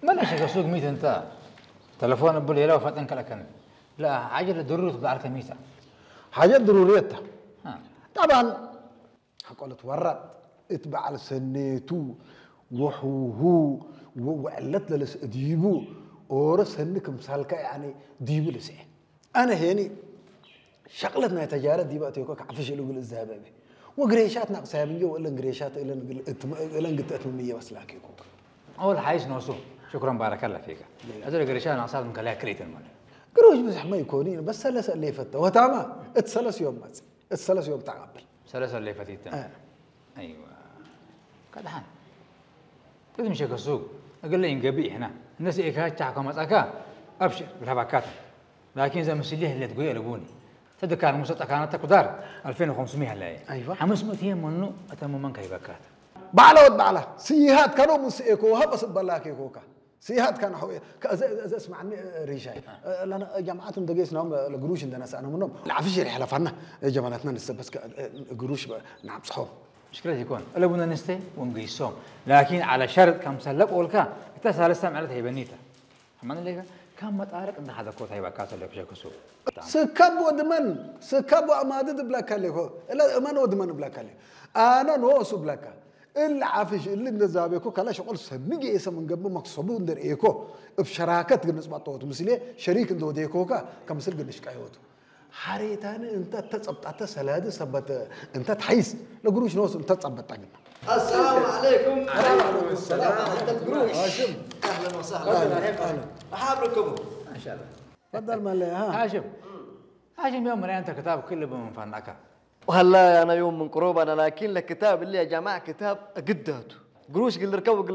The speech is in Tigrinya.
መለሸ ከሱግ ሚት እንተ ተለፎን እብል የለው ፈጠን ከለከን ላ ሓጀ ለድሩር ትብዓል ከሚታ ሓጀት ድሩርየታ ها. ጠባን ሓቆለት ወራጥ እት በዓል ሰኔቱ ወሕሁ ወዕለት ለለስ ዲቡ ኦረ ሰኒ ክምሳልካ ያኒ ዲቡ ልስኤ ኣነ ሄኒ ሸቅለት ናይ ተጃረ ዲባ እቴኮ ክዓፍሽ እሉ ግል እዛበበ ወግሬሻት ናቅሳያ ምንጆ ወእለን ግሬሻት እለን ግል እትም- እለን ግተእት ምምየ በስላክ ይኮክ أول حايس نوسو. شكرا بارك الله فيك. أزل قريشان أصاب من كلها كريت المال. ግሮሽ ብዙሕ መይኮኒ በስ ሰለሰ እለ ይፈተ ወታማ እት ሰለስ ዮም መፅ እት ሰለስ ዮም ተቀብል ثلاثة اللي فاتت. آه. أيوة. كدحان. تدمشي كسوق. أقول لي إنقبي هنا. الناس إيكا تشاكو مزاكا. أبشر. بالهبكات. لكن إذا مسليه اللي تقول يا لبوني. تذكر مسطة كانت تقدر ألفين وخمسمية هلا. أيوة. خمسمية هي منو أتم من كي بكات. ባዕላ ወድ ባዕላ ስይሃት ከኖ ምስ ኤኮ ሃበ ስበላክ ኤኮካ ስይሃት ከነ ሆ ከዘ ዘ ስማዕኒ ሪሻይ ለና ጀማዓት እንደገስ ነው ለግሩሽ እንደነሳ ነው ነው ለዓፍሽ ይርሕ ለፋና ጀማላትና ንሰበስ ግሩሽ ናብጽሖ مشكلة يكون. ألا بنا نستي ونقيسهم. لكن على شرط كم سلب أولكا. إتا ثالثة معلت هي بنيتا. أما نلقى كم مطارق عند هذا كوت هي بكات اللي بشكل سوق. ስከብ ወድመን ስከብ ኣማድድ ብለካ ኣለኮ እለ እመን ወድመን ብለካ ኣለ ኣነ ንወሱ ብለካ እለ ዓፍሽ እለ እንደዛቤኮ ከላ ሸቆል ሰኒ ገየሰ መንገቢ መክሰቡ እንደርእየኮ እብ ሸራከት ግንጽ ባጠወቱ ምስሌ ሸሪክ እንደወደየኮካ ከምስል ግንሽ ቀየወቱ ሓሬታኒ እንተ ተጸብጣተ ሰላዲ ሰበት እንተ ትሓይስ ለግሩሽ ንወሱ እንተ ጸበጣ ግና السلام عليكم. وعليكم السلام. أهلا وسهلا. مرحبا بكم. ما شاء الله. ፈደል መለያ ሃ هاشم. هاشم يوم مريان أنت كتاب كله بمن فنك. وهلا أنا يوم من قروب أنا لكن الكتاب اللي يا جماعة كتاب قداته قروش قل ركب وقل لك